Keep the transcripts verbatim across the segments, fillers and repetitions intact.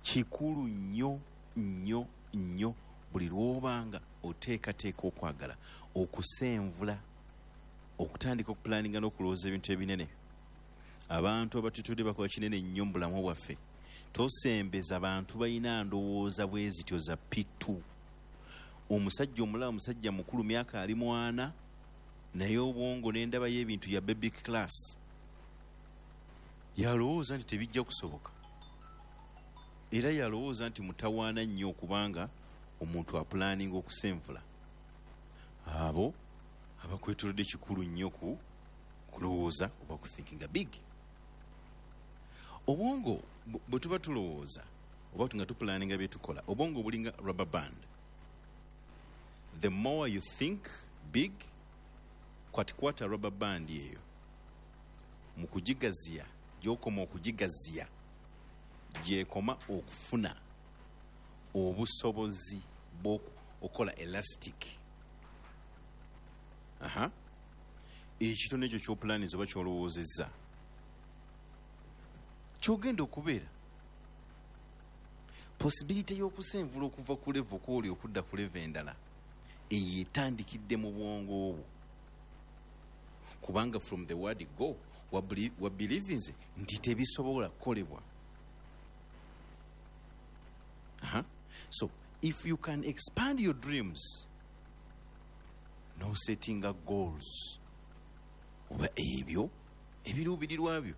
Kikulu nnyo nnyo nnyo buli lw'obanga oteekateeka okwagala okusenvula, okutandika okuplanninga n'okulowooza ebintu ebinene. Abantu abatutudde bakola kinene nnyo mu bulamu bwaffe. Tosembeza bantu balina ndowooza bwe zityo za P two. Omusajja omulala musajja mukulu, myaka ali mwana, naye obwongo n'endaba y'ebintu ya baby class. Yalowooza nti tebijja kusoboka, era yalowooza nti mutawaana nnyo okubanga omuntu aplanninga okusenvula. Abo abakwetoolodde kikulu nnyo ku kulowooza oba kuthinkinga big. Obwongo bwe tuba tulowooza oba nga tuplanninga bye tukola, obwongo bulinga rubber band. The more you think big, kwatikwata rubber band eyo mu kugigaziya, gy'okoma okugigaziya gy'ekoma okufuna obusobozi bw'okukola elastic. Aha, ekitono ekyo ky'oplanninze oba ky'olowoozezza ky'ogenda okubeera. Possibility y'okusenvula okuva ku level kw'oli okudda ku level endala eyo etandikidde mu bwongo obwo, kubanga from the word go wabelievinze nti tebisobola kukolebwa. Aha. So if you can expand your dreams, no setting goals oba ebyo ebiruubirirwa byo,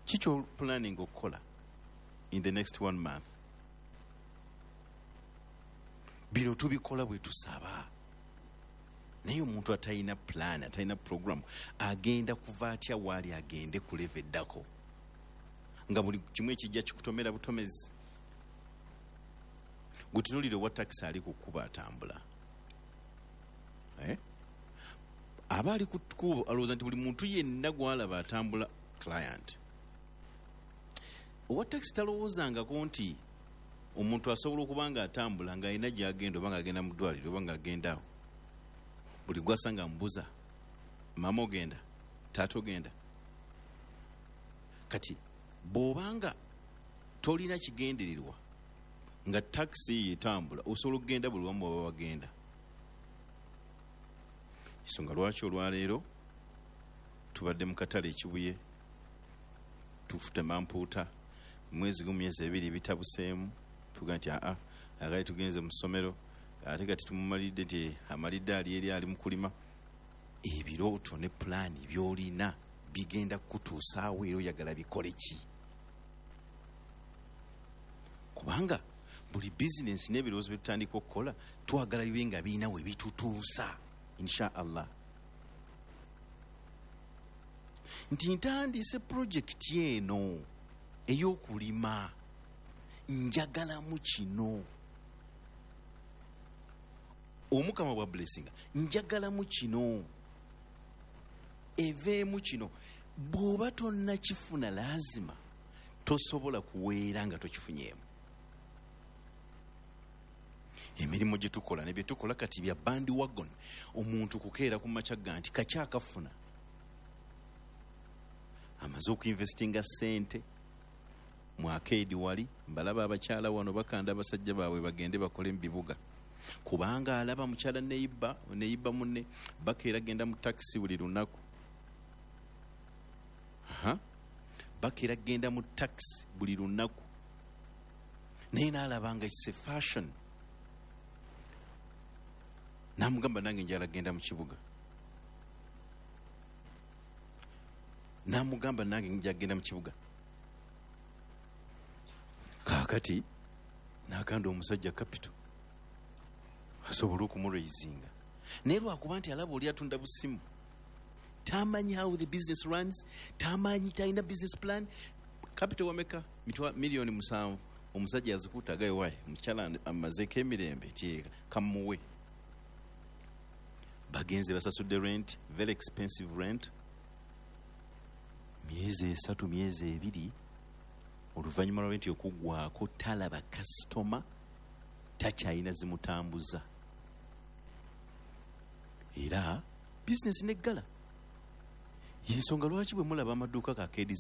kikyo planning okukola in the next one month. Bino tubikola bwe tusaba, naye omuntu atalina plan, atalina program, agenda kuva atya waali agende ku level eddako nga buli kimu ekijja kikutomera butomezi? Gutunuulire owa takisi ali ku kkubo atambula, eh? Aba ali ku kkubo alowooza nti buli muntu yenna gw'alaba atambula client. Owa takisi talowoozangako nti omuntu asobola okuba nga atambula ng'alina gy'agenda, oba ng'agenda mu ddwaliro, oba ng'agenda awo. Buli gw'asanga amubuuza, maama ogenda, taata ogenda. Kati bw'obanga tolina kigendererwa nga takisi etambula, osobola okugenda buli wamu bw'aba bagenda. Ensonga lwaki olwaleero tubadde mu katale Ekibuye, tufutema mpuuta, mwezi gumu myezi ebiri bitabuseemu, tuga nti aa akali tugenze mu ssomero, ate kati tumumalidde nti amalidde ali eri ali mu kulima. Ebirooto ne pulaani by'olina bigenda kukutuusaawo, era oyagala bikole ki? Kubanga buli bizinensi n'ebirowoozo bye tutandika okukola twagala bibe nga birina we bitutuusa, insha Allah. Nti ntandise pulojekiti eno ey'okulima, njagalamu kino. Omukama bwa blessinga, njagalamu kino, eveemu kino. Bw'oba tonnakifuna laazima tosobola kuweera nga tokifunyeemu. Emirimu gye tukola ne bye tukola kati bya bandwagon. Omuntu kukeera ku makya ga nti kakyakafuna, amaze okuinvestinga ssente mu arcade wali, mbalaba abakyala wano bakanda abasajja baabwe bagende bakole mu bibuga, kubanga alaba mukyala neiba neiba munne bakeera genda mu takisi buli lunaku. Aha, bakeera genda mu takisi buli lunaku, naye n'alaba nga it's a fashion, n'amugamba nange njagala genda mu kibuga, n'amugamba nange njagala genda mu kibuga. Kaakati n'akanda omusajja capital asobole okumuraisinga, naye lwakuba nti alaba oli atunda busimu, tamanyi how the business runs, tamanyi, talina business plan. Capital wameka? Mitwa milioni musanvu. Omusajja azikuta agaye wayi, omukyala amazeeko emirembe ti kamuwe. Bagenze basasudde rent, very expensive rent, myezi esatu myezi ebiri oluvannyuma lwa rent okuggwako talaba kasitoma, takyalina zimutambuza, era bizinesi neggala. Yensonga lwaki bwe mulaba amaduuka ga arcade